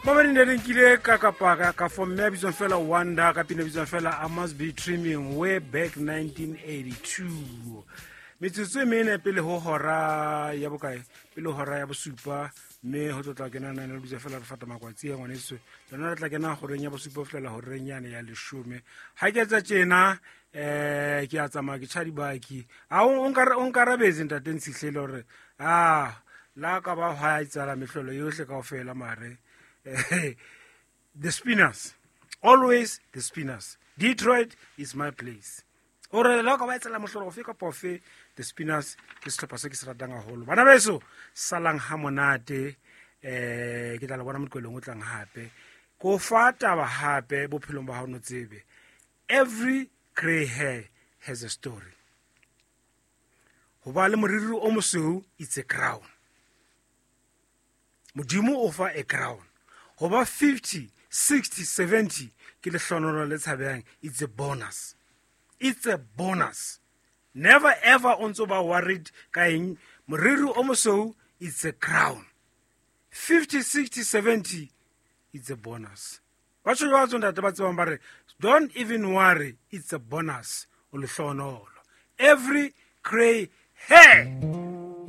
Mamedi ne re nkile ka kapa ka for mme a bitswang fela Wonder ka pina bitswang fela I Must Be Dreaming, way back 1982. Metsotso e mene pele ho hora ya bokae? Pele ho hora ya bosupa, mme ho tlo tla kena nane le bitsa fela re fata makwatsi ya ngwaneso. Lona re tla kena horeng ya bosupa ho fihlela horeng yane ya leshome. Ha ke etsa tjena, ke a tsamaya, ke tjha dibaki. A o nkarabetse ntate Ntshihlele hore a la ka ba hwa etsala mehlolo yohle kaofela, mare the Spinners, always the Spinners. Detroit is my place. Ore la ka ba etsela mohlolo ofe kapa ofe, the Spinners ke sehlopha se ke se ratang haholo. Bana beso, salang ha monate, ke tla le bona moqelong o tlang hape. Ko fa taba hape bophelong ba hao, no tsebe. Every grey hair has a story. Ho ba le moriri o mosweu, it's a crown. Modimo o fa a crown. Ho ba 50, 60, 70 ke lehlohonolo le tshabehang, it's a bonus. It's a bonus. Never ever o ntso ba worried ka eng. Moriri o mosweu, it's a crown. 50, 60, 70, it's a bonus. Ba tjho jwalo ntate ba tsebang ba re, don't even worry, it's a bonus. O lehlohonolo. Every grey hair.